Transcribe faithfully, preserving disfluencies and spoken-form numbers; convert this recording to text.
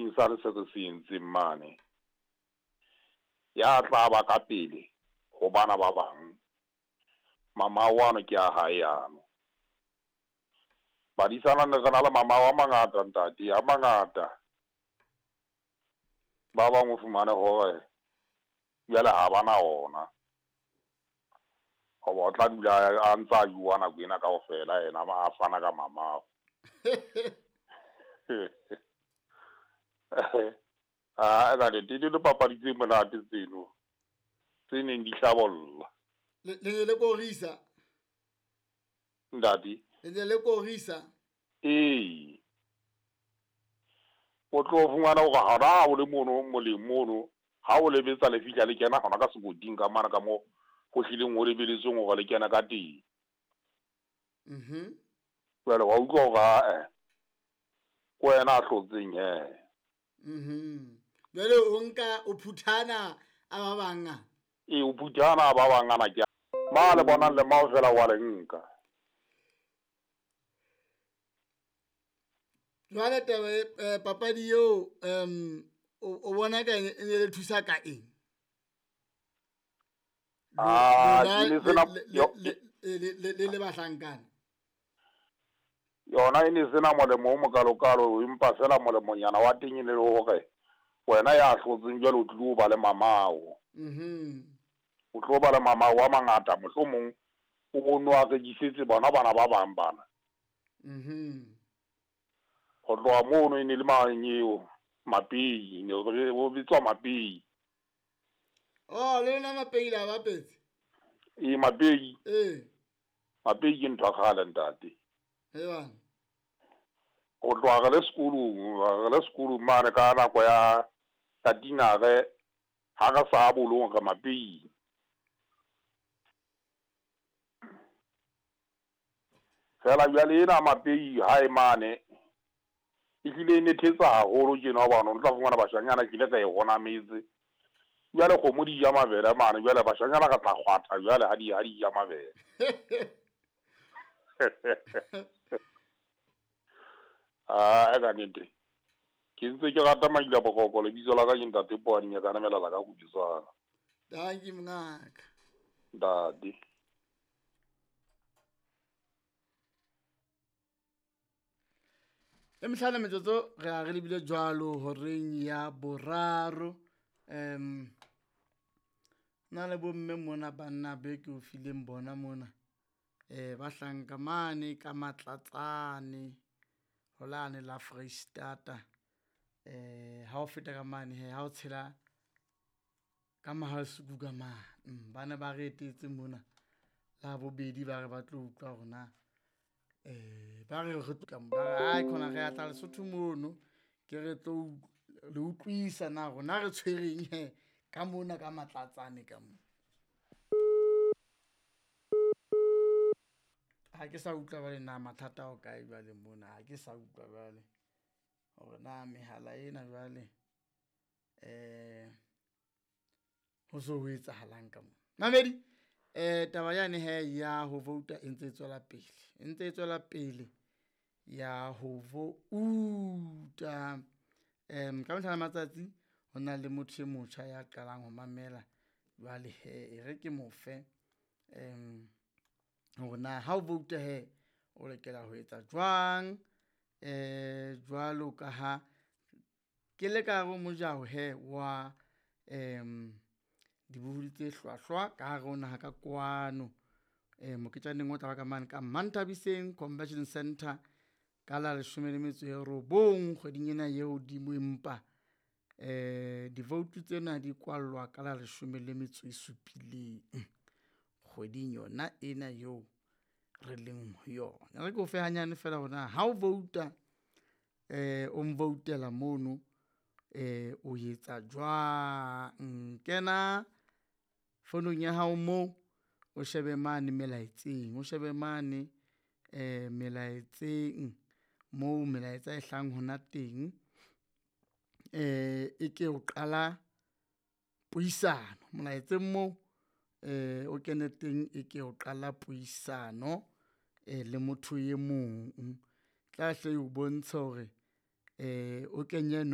sekoting sane se re se entseng mane, ya tla ba ka pele ho bana ba bang, mamao ano ke a hae ano. Badisana ne re na le mamao a mangata ntate, a mangata. Ba bang o fumane hore jwale ha ba na ona. Hoba o tla dula a ntsa a jowa nako ena kaofela yena a fana ka mamao. Ah, ntate, di dipapadi tse monate tseno tse neng di hlabolla. Le ne le korisa? Ntate? Le ne le korisa? Ee. O tlo fumana hore hona ha o le mono moleng mono, ha o lebetsa le fihla le kena hona ka sekoting ka mane ka moo ho hlileng ho lebeletsweng hore le kena ka teng. Mhm. Jwale wa utlwa hore ae, ke wena a hlotseng hee. Mhm. Jwale o nka o phuthana a ba bang a? Ee, o phuthana a ba bang ana ke ma le bonang le mao fela wa le nka. Jwale taba e papadi eo um o bona ka e ne le thusa ka eng? Ah, le sena le le bahlankana. Yona e ne sena molemo o mokalokalo, empa fela molemonyana wa teng e ne le hore wena ya hlotseng jwale o tlilo ba le mamao. Mhm. O tlo ba le mamao a mangata, mohlomong o bono a rekisetse bona bana ba bang bana. Mhm. Ho tloha mono e ne le mang eo Mapei, ne o bitswa Mapei. Oh, le lona Mapei la bapetse? Ee, Mapei. Ee. Mapei ke ntho ya kgale ntate. He bana. Ho tloha re le sekolong, re le sekolong mane ka nako ya ya dinare ha re sa bolong re Mapei. Fela jwale ena Mapei hae mane e hlile e nethetsa haholo tjena hobane o tla fumana bashanyana ke ile ka e honametse. Jwale kgomo di ja mabele mane, jwale bashanyana re tla kgwatha jwale ha di ha di ja mabele. Ah, ka nnete. Ke ntse ke rata Maila Bokoko, lebitso la ka ke Ntate Poane ka namela la ka kutswana. Dankie mngaka. Ntate. E mehlano metsotso re a re lebile jwalo horeng ya boraro. Um na le bomme mona banna be ke o fileng bona mona. Eh ba hlanka mane ka Matlatsane holane la Freistata. Eh ha o feta ka mane he ha o tshela ka Mahasuku ka mane. Bana ba re etetse mona la bobedi ba re ba tlo utlwa rona. Eh ba re re tla ba re ai khona re atla Lesotho mono ke re tlo le utlwisa na rona re tshwereng he ka mona ka Matlatsane ka mo. Ha ke sa utlwa ba le na mathata o kae jwale mona, ha ke sa utlwa jwale hore na mehala ena jwale eh ho so ho etsahalang ka mo. Mamedi eh taba yane he ya ho vouta e ntse e tswela pele, e ntse e tswela pele ya ho vouta. Em ka mehla le matsatsi ho na le motho e motjha ya qalang ho mamela jwale he e re ke mo fe em hore na ha o vouta he o lokela ho etsa jwang eh jwalo ka ha ke le ka hare ho mojaho he wa em dibohodi tse hlwahlwa ka hare ho naha ka kwano eh moketjaneng o tla ba ka mane ka Manthabiseng Convention Center ka la leshome le metso e robong kgweding ena eo hodimo, empa eh di-vote tsena di kwallwa ka la leshome le metso e supileng kgweding yona ena eo re leng ho yona. Re ke o fe hanyane fela hore na ha o vouta eh o mvoutela mono eh o etsa jwang. Kena fonong ya hao moo o shebe mane melaetseng, o shebe mane eh melaetseng moo melaetsa e hlang hona teng. Eh e ke o qala puisano molaetseng moo eh o kene teng, e ke o qala puisano eh le motho e mong tla hle o bontsha hore eh o kenye no